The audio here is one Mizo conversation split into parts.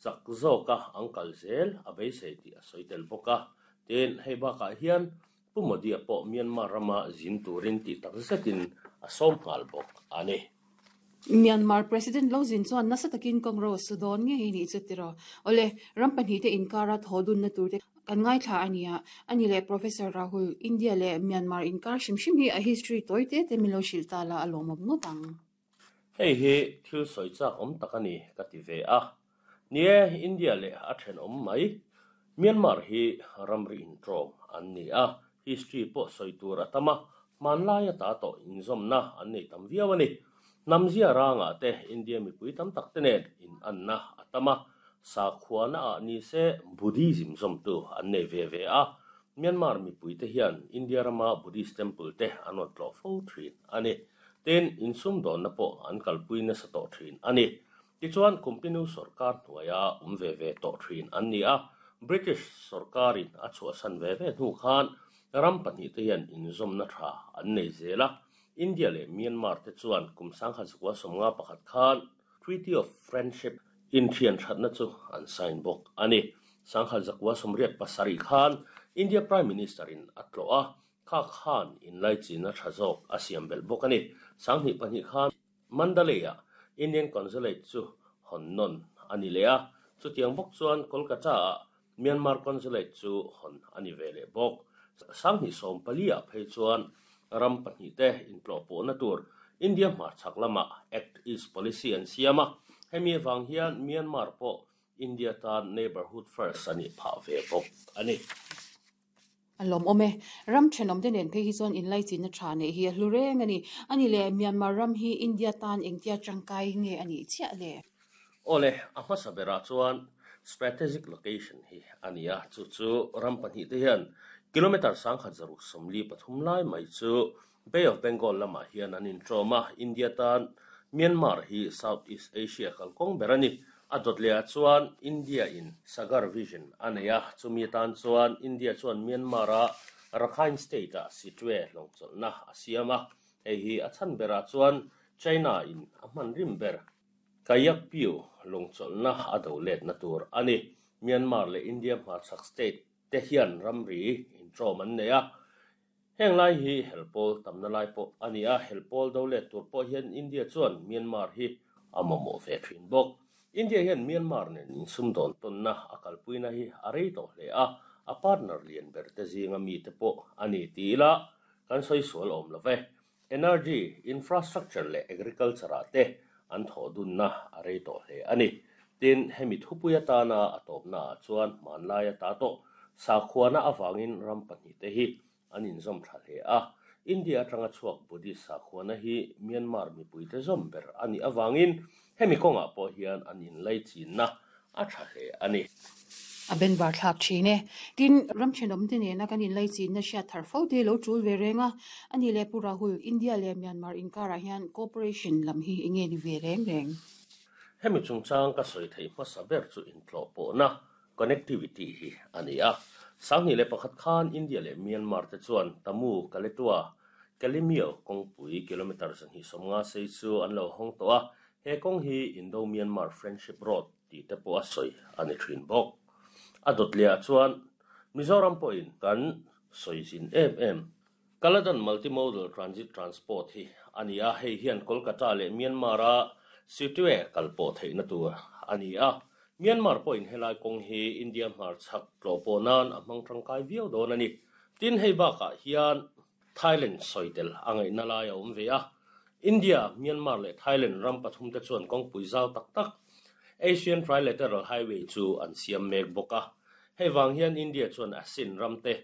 Chak zawka an kal zel a beisei tih a sawi tel bawk a. Tin, hei bakah hian Pu Modi-a pawh Myanmar rama zin turin tih tak zetin a sawm nghal bawk a ni. Myanmar President lo zin chuan nasa takin Congress su dawn ngei nih chu tiraw. Awle, ram pahnihte inkara thaw dunna turte kan ngaithla a nia. A ni leh Professor Rahul, India leh Myanmar inkar hrim hrim hi a history tawi te te min lo hrilh ta la a lawmawm ngawt ang. Hei hi thil sawi chak awm tak a ni ka ti ve a. Ni e, India leh a thenawm mai. Myanmar hi ramri intawm an ni a, history pawh sawi tur a tam a, hmanlai ata tawh inzawmna an nei tam viau a ni. Hnamzia rangah te India mipui tam tak te nen inanna a tam a, sakhuana ah ni se Buddhism zawmtu an nei ve ve a, Myanmar mipui te hian India rama Buddhist temple te an rawn tlawh fo thin a ni. Tin, insumdawnna pawh an kalpui nasa tawh thin a ni. Tichuan, Kumpinu sawrkar hnuaia awm ve ve tawh thin an ni a, British sawrkarin a chhuahsan ve ve hnu khan ram pahnihte hian inzawmna tha an nei zel a. India leh Myanmar te chuan kum 1951 khan Treaty of Friendship inthian thatna chu an sign bawk a ni. 1987 khan India Prime Minister-in a tlawh a, Kha khan inlaichin a tha zawk a siam belh bawk a ni. 2002 khan Mandalay-ah Indian Consulate chu hawn nawn a ni leh a, chutiang bawk chuan Kolkata-ah Myanmar Consulate chu hawn a ni ve leh bawk. 2014-ah phei chuan ram pahnihte intlawhpawhna tur India hmarchhak lamah Act East Policy an siam a, hemi avang hian Myanmar pawh India tan Neighbourhood First a nih phah ve bawk a ni. A lawmawm e. Ram thenawmte nen phei hi chuan inlaichinna tha neih hi a hlu reng a ni. A ni le, Myanmar ram hi India tan engtia tangkai nge a nih chiah le? Aw le, a hmasa berah chuan strategic location hi a ni a, chu chu ram pahnihte hian kilometre 1643 lai mai chu Bay of Bengal lamah hian an inṭawm a, India tan Myanmar hi South East Asia kalkawng ber a ni. A dawt lehah chuan India in Sagar Vision a nei a, chumi atan chuan India chuan Myanmar-a Rakhine State-ah Sittwe hlawngchawlhna a siam a, hei hi a chhan berah chuan China in a hman rim ber. Kayakpyu lawngchawlhna a do letna tur a ni. Myanmar leh India hmarchhak state te hian ramri inṭawm an nei a. Heng lai hi helpawl tamna lai pawh a ni a, helpawl do let tur pawh hian India chuan Myanmar hi a mamawh ve thin bawk. India hian Myanmar nen insumdawn tawnna a kalpuina hi a rei tawh hle a, a partner lian ber te zinga mite pawh a ni ti ila kan sawi sual awm lo ve. Energy, infrastructure leh agriculture ah te an thawh dunna a rei tawh hle a ni. Tin, hemi thupui atana a tawpna ah chuan hmanlai ata tawh sakhuana avangin ram pahnihte hi an inzawm tha hle a. India atanga chhuak Buddhist sakhuana hi Myanmar mipuite zawm ber a nih avangin hemi kawngah pawh hian an inlaichinna a tha hle a ni. A benvar thlak thin e. Tin, ram thenawmte nena kan inlaichinna hriat thar fo te lo tul ve reng a. A ni leh Pu Rahul, India leh Myanmar inkarah hian cooperation lam hi enge ni ve reng reng? Hemi chungchang ka sawi theih hmasa ber chu intlawhpawhna, connectivity, hi a ni a. 2001 khan India leh Myanmar te chuan Tamu, Kaletua, Kalemyo kawngpui kilometre 250 sei chu an lo hawng tawh a. He kawng hi Indo-Myanmar Friendship Road tih te pawh a sawi a ni thin bawk. A dawt leh ah chuan Mizoram pawhin kan sawi zin em em. Kaladan Multimodal Transit Transport hi a ni a, hei hian Kolkata leh Myanmar-a Sittwe kal pawh theihna tur a ni a. Myanmar pawhin helai kawng hi India hmarchhak tlawh pawh nan a hmang tangkai viau dawn a ni. Tin, hei bakah hian Thailand sawi tel a ngaihna lai a awm ve a. India, Myanmar leh Thailand ram pathumte chuan kawngpui zau tak tak Asian Trilateral Highway chu an siam mek bawk a. Hei vang hian India chuan ASEAN ramte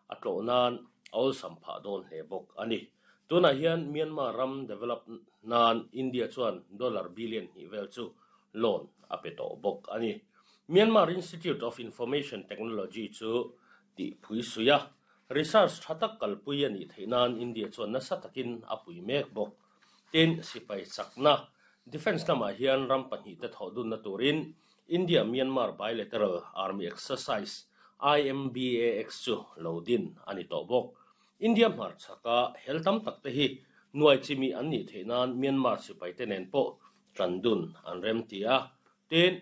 a tlawh nan a awlsam phah dawn hle bawk a ni. Tunah hian Myanmar ram develop nan India chuan dollar billion hnih vel chu loan a pe tawh bawk a ni. Myanmar Institute of Information Technology chu tihpui suih a. Research tha tak kalpui a nih theih nan India chuan nasa takin a pui mek bawk. Tin, sipai chakna, defence lamah hian ram pahnihte thawh dunna turin India-Myanmar Bilateral Army Exercise, IMBAX, chu lo din a ni tawh bawk. India hmarchhaka hel tam takte hi nuai chimi an nih theih nan Myanmar sipaite nen pawh tan dun an remti a. Tin,.